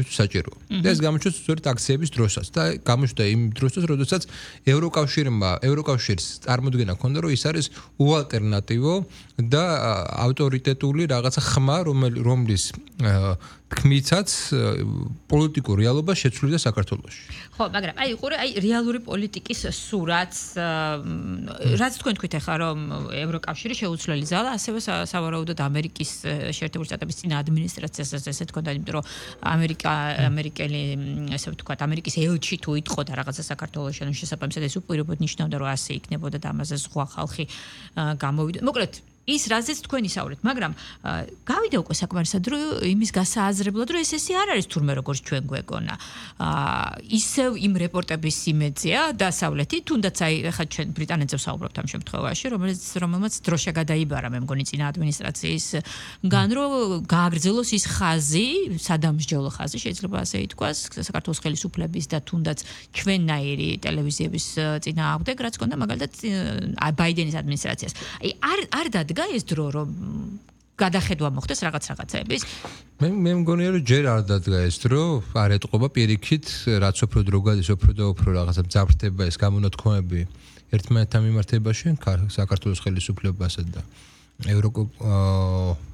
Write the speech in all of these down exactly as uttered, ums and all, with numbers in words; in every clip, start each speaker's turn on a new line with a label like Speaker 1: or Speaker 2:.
Speaker 1: საჭიროა. და ეს გამოჩნდა სწორედ აქციების დროსაც და გამოჩნდა იმ დროსაც, როდესაც ევროკავშირმა, ევროკავშირს წარმოქმნა ჰქონდა, რომ ის არის უალტერნატივო და ავტორიტეტული რაღაცა ხმა, რომლის თქმითაც პოლიტიკურ რეალობას შეცვლიდა საქართველოში.
Speaker 2: ხო, მაგრამ აი ყურე, აი რეალური პოლიტიკის სურათს, რაც თქვენ თქვით ახლა, რომ ევროკავშირი შეუცვლელი ზალა, ასევე სავარაუდოდ ამერიკის შეერთებული შტატების წინა ადმინისტრაციასაც ესე თქონდა, იმიტომ რომ ამერიკა ამერიკელი ესე ვთქვათ, ამერიკის ელჩი თუ იტყოდა რაღაცა საქართველოში, ანუ შესაბამისად ეს უპირობოდ ნიშნავდა, რომ ასე იქნებოდა და ამაზე სხვა ხალხი გამოვიდა. მოკლედ ის რაზეც თქვენ ისაუბრეთ, მაგრამ გავიდა უკვე საკმარისად რომ იმის გასააზრებლად რომ ეს ესე არ არის თურმე როგორც ჩვენ გვეგონა. ისევ იმ რეპორტების იმედია დასავლეთი, თუნდაც აი ხა ჩვენ ბრიტანეთზე ვსაუბრობთ ამ შემთხვევაში, რომელიც რომელმაც დროშა გადაიბარა, მე მგონი წინა ადმინისტრაციისგან, რომ გააგრძელოს ის ხაზი, სადამსჯელო ხაზი, შეიძლება ასე ითქვას, საქართველოს ხელისუფლების და თუნდაც ჩვენნაირი ტელევიზიების წინააღმდეგ, რაც ჰქონდა მაგალითად ბაიდენის ადმინისტრაციას. აი არ არ დადგა ეს დრო რომ გადახედვა მოხდეს რაღაც რაღაცების.
Speaker 1: მე მე მგონია რომ ჯერ არ დადგა ეს დრო, არ ეტყობა პირიქით, რაც უფრო დრო გადის, უფრო და უფრო რაღაცა მძაფრდება ეს გამონათქვამები ერთმანეთთან მიმართებაში, საქართველოს ხელისუფლებასა და ევრო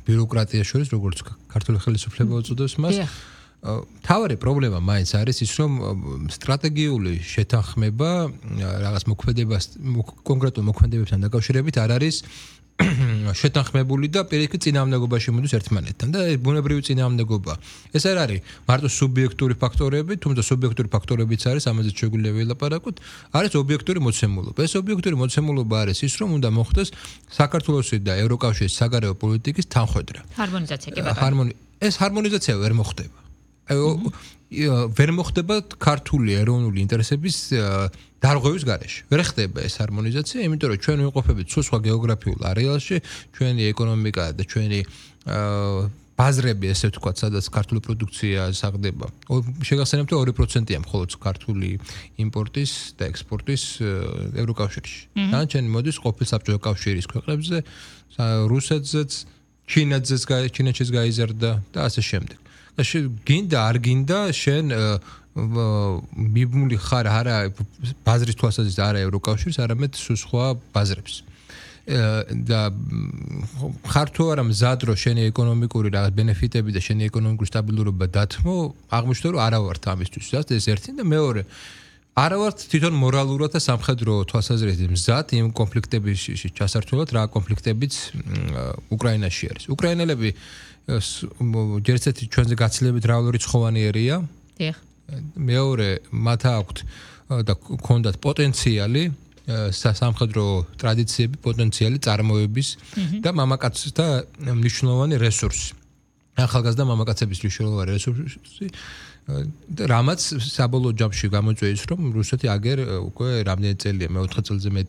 Speaker 1: ბიუროკრატიას შორის, როგორც ქართული ხელისუფლება უწოდებს მას. თავარი პრობლემა მაინც არის ის, რომ სტრატეგიული შეთანხმება რაღაც მოქმედებას, კონკრეტულ მოქმედებებთან დაკავშირებით არ არის შეთანხმებული და პირიქით წინააღმდეგობაში მოდის ერთმანეთთან და ბუნებრივი წინააღმდეგობა. ეს არ არის მარტო სუბიექტური ფაქტორები, თუმცა სუბიექტური ფაქტორებიც არის, ამაზე შეგვიძლია ვილაპარაკოთ, არის ობიექტური მოცემულობა. ეს ობიექტური მოცემულობა არის ის, რომ უნდა მოხდეს საქართველოსი და ევროკავშირის საგარეო პოლიტიკის თანხვედრა.
Speaker 2: ჰარმონიზაცია კი ბატონო.
Speaker 1: ეს ჰარმონიზაცია ვერ მოხდება. ვერ მოხდება ქართული ეროვნული ინტერესების დარღვევის გარეშე. ვერ ხდება ეს ჰარმონიზაცია, იმიტომ რომ ჩვენ ვიმყოფებით სულ სხვა გეოგრაფიულ არეალში, ჩვენი ეკონომიკა და ჩვენი ბაზრები, ესე ვთქვათ, სადაც ქართული პროდუქცია საღდება. შეგახსენებთ, რომ ორი პროცენტია მხოლოდ ქართული იმპორტის და ექსპორტის ევროკავშირში. დანარჩენი მოდის ყოფილ საბჭოთა კავშირის ქვეყნებზე, რუსეთზეც, ჩინეთზეც, ჩინეთშიც გაიზარდა და ასე შემდეგ. გინდა არ გინდა შენ მიბმული ხარ არა ბაზრის თვალსაზრისით არა ევროკავშირს, არამედ სხვა ბაზრებს. და ხარ თუ არა მზად რომ შენი ეკონომიკური რაღაც ბენეფიტები და შენი ეკონომიკური სტაბილურობა დათმო, აღმოჩნდა რომ არა ვართ ამისთვის. ეს ერთი და მეორე არა ვართ თვითონ მორალურად და სამხედრო თვალსაზრისით მზად იმ კონფლიქტებში ჩასართულად, რა კონფლიქტებიც უკრაინაში არის. უკრაინელები ჯერ ერთი ჩვენზე გაცილებით რავალური ცხოვანიერია.
Speaker 2: დიახ.
Speaker 1: მეორე მათ აქვთ და ქონდათ პოტენციალი სამხედრო ტრადიციები, პოტენციალი წარმოების და მამაკაცთა მნიშვნელოვანი რესურსი. ახალგაზრდა მამაკაცების მნიშვნელოვანი რესურსი და რამაც საბოლოო ჯამში გამოწვია ის, რომ რუსეთი აგერ უკვე რამდენი წელია, მეოთხე წელზე მეტი